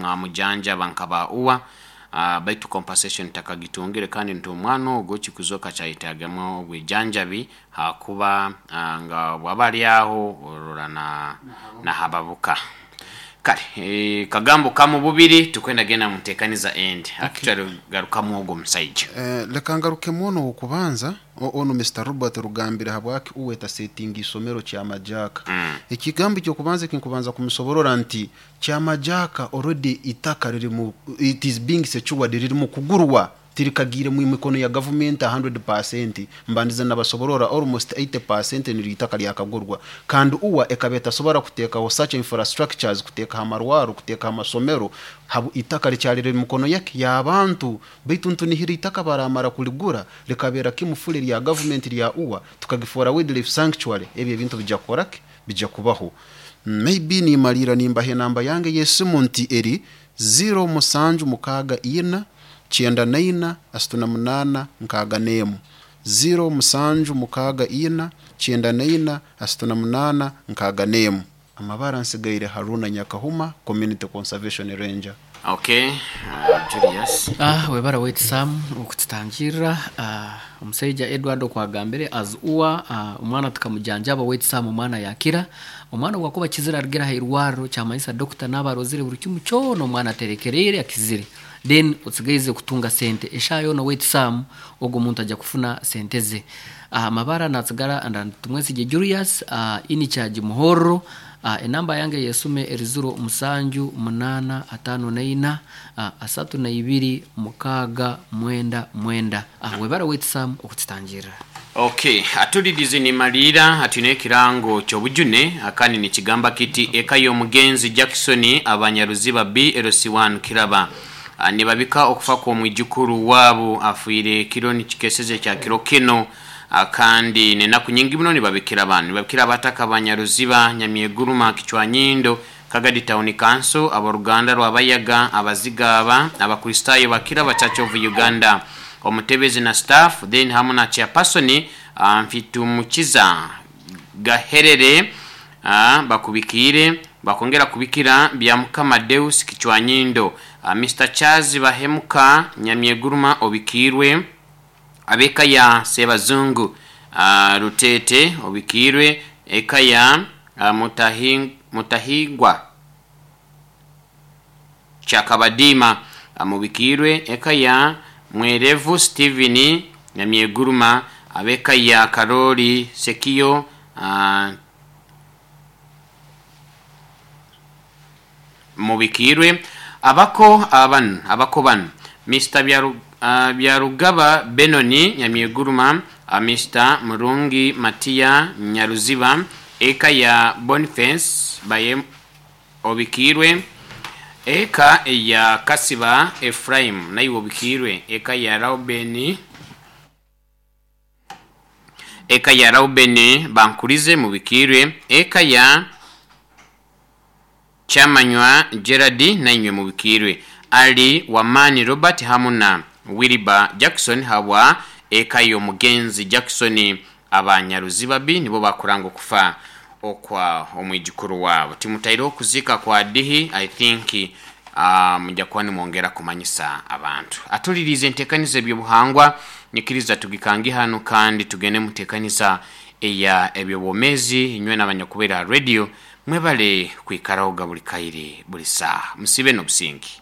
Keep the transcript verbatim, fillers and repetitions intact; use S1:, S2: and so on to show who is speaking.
S1: Mwamujanjaba nkaba uwa uh, baitu compensation takagitungire, kandi nti omwana ogwo kikuzoka kyayetagamu obwijanjabi hakuba uh, nga bwaba ali aho orora na nahababuka. Kale e, kagambo kamu bubiri tukwenda genda mutekaniza endi. Actually garukamu ogwo musaija.
S2: Eh, leka ngarukemu ono okubanza, o- ono Mister Robert Rugambire, habwaki uwe tasetinga isomero Kyamajaka.
S1: mm.
S2: Ekigambo ekyokubanza ekinkubanza kumusoborora nti Kyamajaka already itaka riri mu, it is being secured, riri mu kugurwa, tirikagiire mu mikono ya gavumenti kikumi. Mbandize nabasoborora almost eighty percent niryo itaka lyakagurwa, kandi uwa ekaba etasobora kuteekaho such infrastructures, kuteekaho amarwaro, kuteekaho amasomero habu itaka likyali riri mu mikono yake y'abantu. Baitu ntunihira itaka baramara kuligura likabeera kimufule lya gavumenti lya uwa, tukagifoora wildlife sanctuary, ebyo ebintu bijja kukoraki, bijja kubaho. Maybe nimalira nimbaha enamba yange y'esimu nti eri zero musanju mukaaga ina kyenda naina asatu na munaana nkaaga n'emu, zero musanju mukaaga ina kyenda naina asatu na munaana nkaaga n'emu. Amabara nsigaire Haruna Nyakahuma, community conservation ranger.
S1: Okay, uh, Julius.
S3: Ah, webara wait Sam okututangirira. Ah, omusaija Edward okwagambire as uwa, ah, omwana tukamujanjaba wait Sam, omwana yakira. Omwana gwakuba kizira arugira ha irwariro, kyamanyisa dokita n'abarozire buri kimu kyona, omwana aterekereire akizire, then otsigaize kutunga sente eshaha yoona. Wait Sam, ogwo omuntu ajja kufuna sente ze. Ah, mabara natsigara anda Tumwesige Julius, ah, in charge Muhorro. uh, enamba yange yesume eri zero musanju munana atano naina uh, asatu na ibiri mukaaga mwenda mwenda. uh, webara wait Sam okututangirira.
S1: Okay, atulirize nimalira atwine ekirango kyobujune, akandi nikigamba kiti eka y'omugenzi Jackson Abanyaruziba B L C one Kiraba, Ah, nibabika okufa kw'omwijukuru waabo afiire kiro nikikeseze kya kiro kino. Ah, kandi nenaku nyingi muno nibabikira abantu, nibabikira abataka Abanyaruziba, Nyamyeguruma, Kichwanyindo, Kagadi Town Council, aboruganda rwabayaga, abazigaba, abakristaayo bakiraba Church of Uganda, omutebezi na staff, then hamu na chairperson uh, Mfitumukiza Gaherere. uh, bakubikiire bakongera kubikira bya Mukama Deus Kichwanyindo, uh, Mister Charles Bahemuka Nyamyeguruma obikiirwe, abeka ya Sebazungu uh, Rutete obikiirwe, eka ya uh, Mutahi- mutahigwa Kyakabadima mubikirwe, eka ya Mwerevu Steven Nyamyeguruma, abeka ya Karoli Sekiyo uh, mubikirwe, abako abanu, abako banu Mister Byaru, uh, Byarugaba Benoni Nyamyeguruma, uh, Mister Murungi Matiya Nyaruziba, eka ya Boniface Baye obikirwe, eka ya Kasiba Ephraim nayo obikirwe, eka ya Raubeni eka ya Raubeni Bankurize mubikirwe, eka ya Kyamanywa Gerard nainywe mubikirwe, Ali Wamani Robert hamuna Williba Jackson habwa eka y'omugenzi Jackson. Abanyaruziba B nibo bakuranga okufa okwa omwijukuru waabo. Timutaire okuzika kwa dihi. I think uh, mujja kuba nimwongera kumanyisa abantu. Atulirize entekaniza ebyobuhangwa, nyikiriza tugikange hano kandi tugende mutekaniza eya ebyobwomezi. Inywe n'abanyakubeera radio, mwebale kwikaraho ga buli kaire buli saaha, musibe n'obusingi.